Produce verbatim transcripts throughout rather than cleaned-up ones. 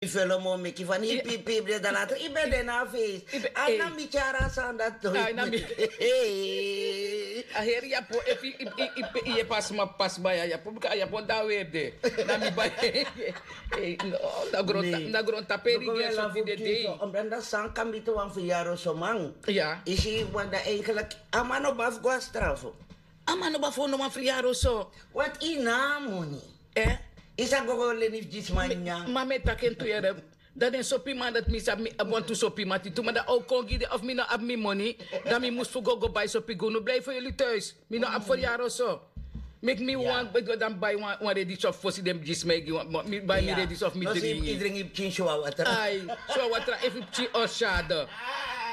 Felo mo meki fan yu pipi yu ben de na a feest. A na mi tyari a sani dati. A heri yapo efu yu pasi ma pasi bai a yapo bika a yapo dan weri de. Na mi bai. Na grontapu eri gi en so di de dei. Omdan dati san kan miti wan fu yaro soman. Isi wan dan eigenlik a man no bafu go a strafu. A man no bafu no wan fu yaro so. Wat yu na a moni. Yu sa go go leni fu gi sma nyan. Ma mi e taki en tu yere. Dan den sopiman dati mi sabi mi abi wantu sopiman titu ma dan a o kon gi den of mi no abi mi moni. Dan mi mus fu go go bai sopi gi unu blei fu yuli tuis. Mi no abi fu yaro so. Meki mi wan go dan bai wan redi sofi fosi den mus gi sma e gi wan mi bai mi redi sofi mi dringi. Yu pikin si wan watra. Ai, si wan watra efu yu pikin o syade.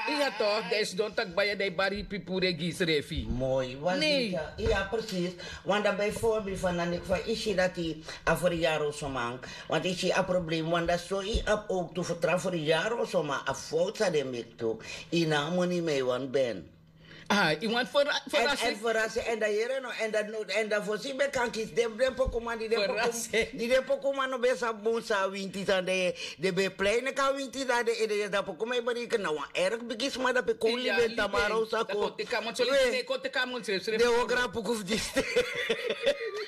Iya tok dan yu sidon taki bai ya dan yu bari yu pipuru e gi yu srefi. Moi. Iya presis. Wan dan bijvoorbeeld fan dan eki fa yu si dati a fu yaro soman. Want yu si a problem wan dan so yu abi owktu fu tra fu yaro soman a fout san den meki tu. Yu na a moni mi e wani ben. Yu wani ferasi. En dan yere no en dan no en dan fosi ben kan kisi den pokuman di den pokuman no ben sabi bun san a winti san den ben e plei neka a winti dan den ede yesi dan pokuman e bereken na wan erg bigi sma dape kowli ben tamara un sako. Den o grapuku fu diste.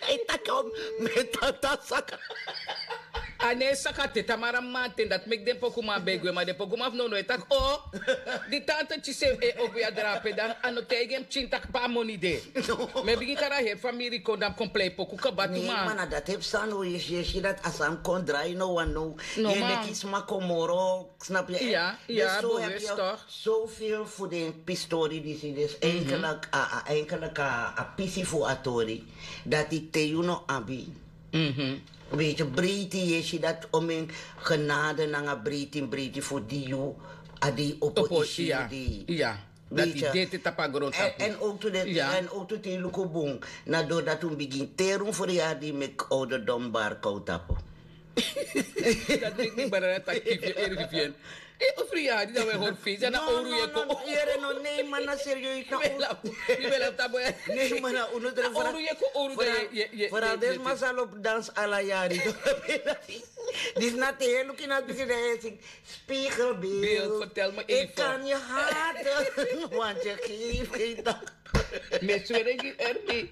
Ai taki o mi e tata saka. A no e saka te tamara maman ten dati meki den pokuman ben e gwe ma den pokuman fu nownow e taki o. Di tante tisi en e opo yu a drape dan a no taigi en pikin taki pe a moni de. Mi e bigin kari a heri famiri kon dan mi kon plei poku kaba tu ma. Ma na dati e psa no yu si dati a sani kon drai no wan no. Yu e meki sma kon moro. Snap yu? Iya. Dus zo heb je zoveel voeding pistori disi dus eigenlijk a eigenlijk a pisi fu a tori. Dati te yu no abi. Weet je breiti yu e si dati om en genade nanga breiti breiti fu di yu a di opo isi yu di. Dati deti tapu a grontapu. En ook tu den en ook tu te yu luku bun na dori dati un bigin teri un feriyari di meki ouderdom bari kow tapu. Dati meki mi barada taki fu yu eri fu yu en. Fu yu yari dan wi e hori fesi a na owru yu e kon. Yere no nei man na serieus na owru. Yu ben lafu tapu ya. Nei man na unu dre fara. Owru yu e kon owru dan yu e. Fara den sma sa lobi dansi ala yari. Disi na te yu e luku ini a bigin dan yu e singi. Spiegelbeeld. Ik kan je haten, want je geeft geen dank. Mi e sweri en gi erbi.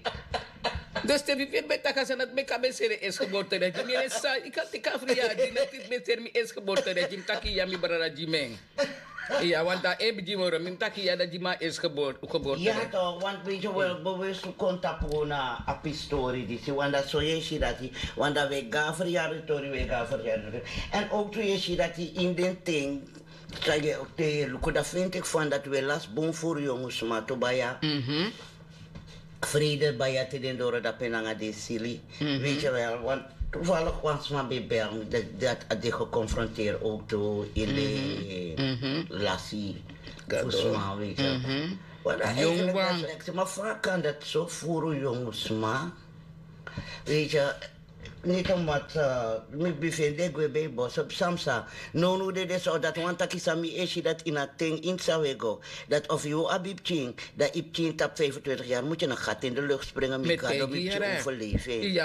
Dus te mi firi ben taki a sani dati meki a ben seri en esi geboorte dati mi en sa yu kan teki a fri ya di na titi ben seri mi esi geboorte dati mi taki ya mi brada gi mi en. Iya want a en bigin moro mi mi taki ya dati gi mi a esi geboorte. Ya to want weet je wel bewust fu kon tapu na a pistori disi want dati so yu e si dati want dati wi e go na fri ya di tori wi e go na fri ya di tori. En ook tu yu e si dati ini den ten. San yu e luku dati findi eki fan dati wi e lasi bun furu yongu sma tu baya. Frede baya te den doro dape nanga den sili. Weet je wel want toevallig wan sma ben bel mi dati a de geconfronteerd ook tu in de lasi fu sma weet je. Want eigenlijk dat is ma fa kan dati so furu yongu sma. Weet je. Niti omdat mi bifende gwe ben boso psa mi sa. Nownow dede so dati wani taki san mi e si dati ini a ten ini san wi e go. Dati of yu abi pikin dan yu pikin tapu vijfentwintig yari mutu yu na gati ini de lukt springen mi gado mi pikin overleven. Yu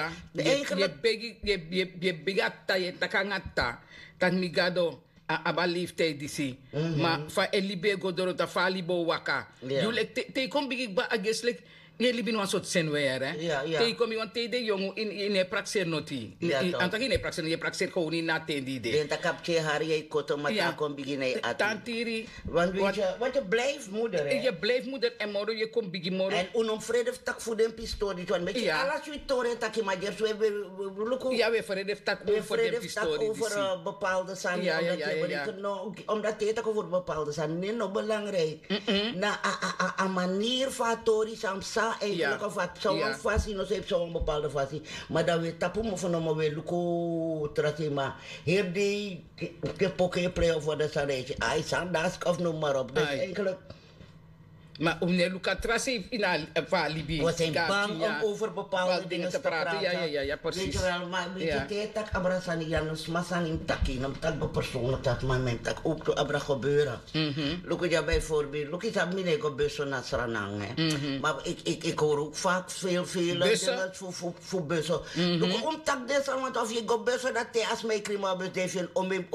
e begi a ta yu e taki nanga ta. Taki mi gado. A abi a leeftijd disi. Ma fa en libi e go doro dan fa a libi o waka. Yu leki te yu kon bigin kba a gesi leki yu e libi ini wan sortu seni weri. Te yu kon mi wan te yu de yongu yu no e prakseri noti. Yu no e prakseri noti yu e prakseri kownu ini a ten di yu de. Den taki a pikin e hari yu e koto ma te a kon bigin na yu ati. Tantiri. Want yu blijf moeder. Yu e blijf moeder èn moro yu e kon bigin moro. Èn un no mus frede fu taki fu den pistori disi wan meki ala switi tori e taki ma gersi wi e luku. Ya wi e frede fu taki over den pistori disi. Bepaalde sani omdat yu e bereken no omdat te yu e taki over bepaalde sani ne no belangrijk. Na a manier fu a tori san psa eigenlijk of a psa wan fasi no so e psa wan bepaalde fasi. Ma dan wi e tapu mofo nomo wi e luku tra sei ma heri dei. Ke poke e plei of wan dan sani e si ai san daski of no marop dus eigenlijk. Ma un no e luku a tra sei fu a libi. We zijn bang om over bepaalde dingen te praten. Weet je wel, maar weet je, te tak abra sani, ya no sma sani mi taki, no mi taki go persoonlijk dat, maar mi taki ook to abra gebeuren. Luku ya bijvoorbeeld, luku ya mi no e go bussen na Sranan, hè. Maar ik, ik, ik hoor ook vaak veel, veel dingen voor, voor, voor bussen. Luku, um, tak desa, want of je go bussen, dat te as mij krima bus, die vind om hem, om